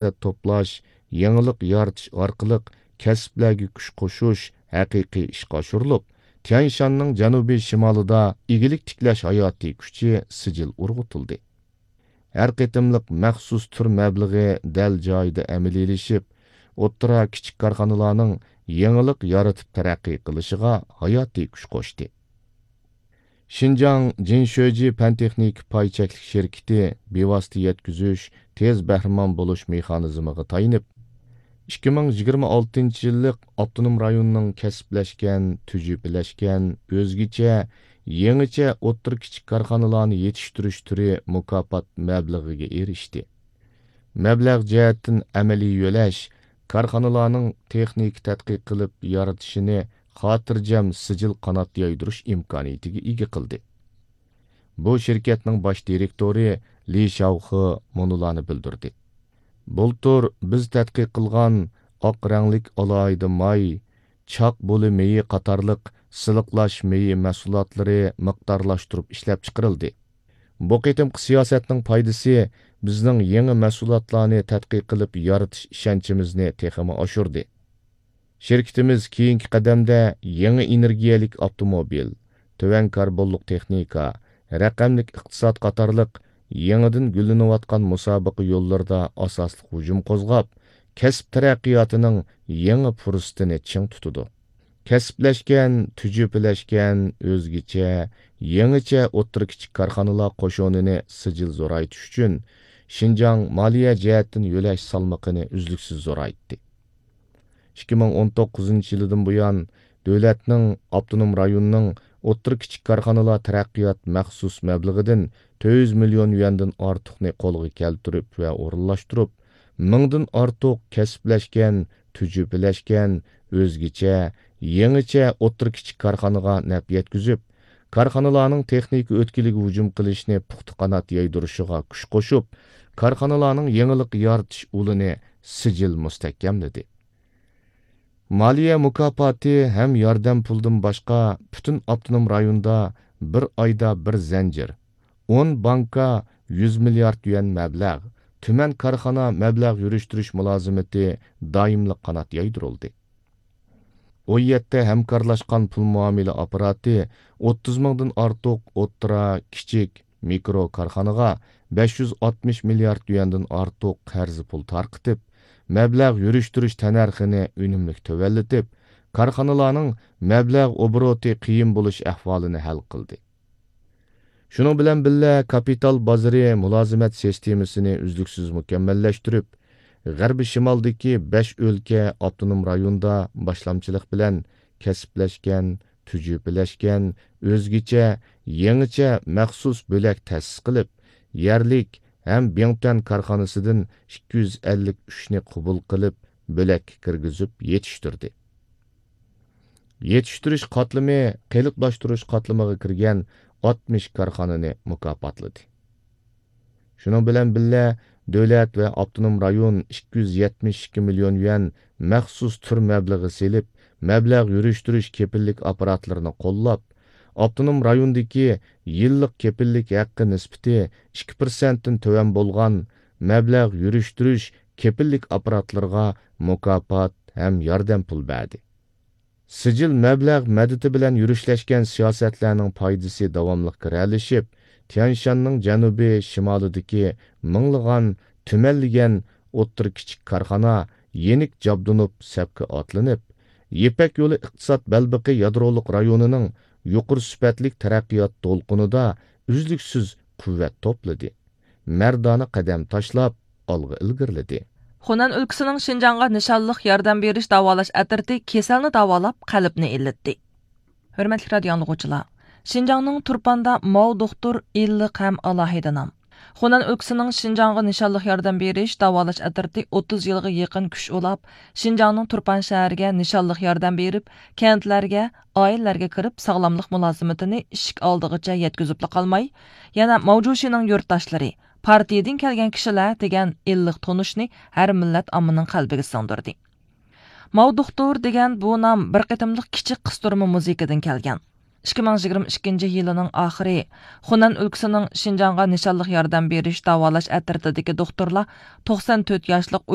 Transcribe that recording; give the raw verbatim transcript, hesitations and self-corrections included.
مەبلەغ توپلاش، يېڭىلىق يارىتىش ئارقىلىق كەسىپلەرگە كۈچ قوشۇش ھەقىقىي ئىشقا ئاشۇرۇلۇپ، تيەنشاننىڭ جەنۇبىي شىمالىدا ئىگىلىك تىكلەش ھاياتىي كۈچى سىجىل ئۇرغۇتۇلدى. ھەر قېتىملىق مەخسۇس تۈر مەبلىغى دەل جايىدا ئەمەلىيلىشىپ، ئوتتۇرا، كىچىك كارخانىلارنىڭ يېڭىلىق يارىتىپ تەرەققىي قىلىشىغا ھاياتىي كۈچ قوشتى. شىنجاڭ جىنشۆجى پەن تېخنىكا پاي چەكلىك شىركىتى بىۋاسىتە يەتكۈزۈش، تېز بەھرىمەن بولۇش مېخانىزمىغا تايىنىپ، ئىككى مىڭ يىگىرمە ئالتىنچى يىللىق ئاپتونوم رايوننىڭ كەسىپلەشكەن، تۈجۈپىلەشكەن، ئۆزگىچە، يېڭىچە ئوتتۇرا، كىچىك كارخانىلارنى يېتىشتۈرۈش تۈرى مۇكاپات مەبلىغىگە ئېرىشتى. مەبلەغ جەھەتتىن ئەمەلىي يۆلەش، كارخانىلارنىڭ تېخنىكا تەتقىق قىلىپ يارىتىشىنى خاتىرجەم سىجىل قانات يايدۇرۇش ئىمكانىيىتىگە ئىگە قىلدى. بۇ شىركەتنىڭ باش دىرېكتورى لى شاۋخې مۇنۇلارنى بىلدۈردى: بۇلتۇر بىز تەتقىق قىلغان ئاق رەڭلىك ئالاھىدە ماي، چاق بولى مېيى قاتارلىق سىلىقلاش مېيى مەھسۇلاتلىرى مىقدارلاشتۇرۇپ ئىشلەپچىقىرىلدى. بۇ قېتىمقى سىياسەتنىڭ پايدىسى بىزنىڭ يېڭى مەھسۇلاتلارنى تەتقىق قىلىپ يارىتىش ئىشەنچىمىزنى تېخىمۇ ئاشۇردى. شىركىتىمىز كېيىنكى قەدەمدە يېڭى ئېنېرگىيەلىك ئاپتوموبىل، تۆۋەن كاربونلۇق تېخنىكا، رەقەملىك ئىقتىساد قاتارلىق يېڭىدىن گۈللىنىۋاتقان مۇسابىقە يوللىرىدا ئاساسلىق ھۇجۇم قوزغاپ، كەسىپ تەرەققىياتىنىڭ يېڭى پۇرسىتىنى چىڭ تۇتىدۇ. كەسىپلەشكەن، تۈجۈپىلەشكەن، ئۆزگىچە، يېڭىچە ئوتتۇرا، كىچىك كارخانىلار قوشۇنىنى سىجىل زورايتىش ئۈچۈن، شىنجاڭ مالىيە جەھەتتىن يۆلەش سالمىقىنى ئۈزلۈكسىز زورايتتى. ئىككى مىڭ ئون توققۇزىنچى يىلىدىن بۇيان، دۆلەتنىڭ، ئاپتونوم رايوننىڭ ئوتتۇرا، كىچىك كارخانىلار تەرەققىيات مەخسۇس مەبلىغىدىن تۆت يۈز مىليون يۈەندىن ئارتۇقنى قولغا كەلتۈرۈپ ۋە ئورۇنلاشتۇرۇپ، مىڭدىن ئارتۇق كەسىپلەشكەن، تۈجۈپىلەشكەن، ئۆزگىچە، يېڭىچە ئوتتۇرا، كىچىك كارخانىغا نەپ يەتكۈزۈپ، كارخانىلارنىڭ تېخنىكا ئۆتكىلىگە ھۇجۇم قىلىشنى پۇختا قانات يايدۇرۇشىغا كۈچ قوشۇپ، كارخانىلارنىڭ يېڭىلىق يارىتىش ئۇلىنى سىجىل مۇستەھكەملىدى. مالىيە مۇكاپاتى ھەم ياردەم پۇلىدىن باشقا، پۈتۈن ئاپتونوم رايوندا بىر ئايدا بىر زەنجىر، ئون بانكا، يۈز مىليارد يۈەن مەبلەغ، تۈمەن كارخانا مەبلەغ يۈرۈشتۈرۈش مۇلازىمىتى دائىملىق قانات يايدۇرۇلدى. ئون يەتتە ھەمكارلاشقان پۇل مۇئامىلە ئاپپاراتى ئوتتۇز مىڭدىن ئارتۇق ئوتتۇرا، كىچىك، مىكرو كارخانىغا بەش يۈز ئاتمىش مىليارد يۈەندىن ئارتۇق قەرز پۇل تارقىتىپ، مەبلەغ يۈرۈشتۈرۈش تەننەرخىنى ئۈنۈملۈك تۆۋەنلىتىپ، كارخانىلارنىڭ مەبلەغ ئوبوروتى قىيىن بولۇش ئەھۋالىنى ھەل قىلدى. شۇنىڭ بىلەن بىللە، كاپىتال بازىرى مۇلازىمەت سىستېمىسىنى ئۈزلۈكسىز مۇكەممەللەشتۈرۈپ، غەربىي شىمالدىكى بەش ئۆلكە، ئاپتونوم رايوندا باشلامچىلىق بىلەن كەسىپلەشكەن، تۈجۈپىلەشكەن، ئۆزگىچە، يېڭىچە مەخسۇس بۆلەك تەسىس قىلىپ، يەرلىك ھەم بىڭتۈەن كارخانىسىدىن ئىككى يۈز ئەللىك ئۈچنى قوبۇل قىلىپ، بۆلەككە كىرگۈزۈپ يېتىشتۈردى. يېتىشتۈرۈش قاتلىمى قېلىپلاشتۇرۇش قاتلىمىغا كىرگەن ئاتمىش كارخانىنى مۇكاپاتلىدى. شۇنىڭ بىلەن بىللە، دۆلەت ۋە ئاپتونوم رايون ئىككى يۈز يەتمىش ئىككى مىليون يۈەن مەخسۇس تۈر مەبلىغى سېلىپ، مەبلەغ يۈرۈشتۈرۈش كېپىللىك ئاپپاراتلىرىنى قوللاپ، ئاپتونوم رايوندىكى يىللىق كېپىللىك ھەققى نىسبىتى ئىككى پىرسەنتتىن تۆۋەن بولغان مەبلەغ يۈرۈشتۈرۈش كېپىللىك ئاپپاراتلىرىغا مۇكاپات ھەم ياردەم پۇل بەردى. سىجىل مەبلەغ مەدىتى بىلەن يۈرۈشلەشكەن سىياسەتلەرنىڭ پايدىسى داۋاملىق گىرەلىشىپ، تيەنشاننىڭ جەنۇبىي شىمالىدىكى مىڭلىغان، تۈمەنلىگەن ئوتتۇرا، كىچىك كارخانا يېنىك جابدۇنۇپ سەپكە ئاتلىنىپ، يىپەك يولى ئىقتىساد بەلبېقى يادرولۇق رايونىنىڭ يۇقىرى سۈپەتلىك تەرەققىيات دولقۇنىدا ئۈزلۈكسىز قۇۋۋەت توپلىدى. مەردانە قەدەم تاشلاپ، ئالغا ئىلگىرىلىدى. خۇنەن ئۆلكىسىنىڭ شىنجاڭغا نىشانلىق ياردەم بېرىش داۋالاش ئەترىتى كېسەلنى داۋالاپ، قەلبنى ئىللىتتى. ھۆرمەتلىك رادىيو ئاڭلىغۇچىلار، شىنجاڭنىڭ تۇرپاندا ماۋ دوختۇر ئىللىق ھەم ئالاھىدە نام. خۇنەن ئۆلكىسىنىڭ شىنجاڭغا نىشانلىق ياردەم بېرىش داۋالاش ئەترىتى ئوتتۇز يىلغا يېقىن كۈچ ئۇلاپ، شىنجاڭنىڭ تۇرپان شەھىرىگە نىشانلىق ياردەم بېرىپ، كەنتلەرگە، ئائىلىلەرگە كىرىپ، ساغلاملىق مۇلازىمىتىنى ئىشىك ئالدىغىچە يەتكۈزۈپلا قالماي، يەنە ماۋجۇشىنىڭ يۇرتداشلىرى، پارتىيىدىن كەلگەن كىشىلەر دېگەن ئىللىق تونۇشنى ھەر مىللەت ئاممىنىڭ قەلبىگە سىڭدۈردى. ماۋ دوختۇر دېگەن بۇ نام بىر قېتىملىق كىچىك قىستۇرما مۇزىكىدىن كەلگەن. ئىككى مىڭ يىگىرمە ئىككىنچى يىلىنىڭ ئاخىرى خۇنەن ئۆلكىسىنىڭ شىنجاڭغا نىشانلىق ياردەم بېرىش داۋالاش ئەترىتىدىكى دوختۇرلار توقسان تۆت ياشلىق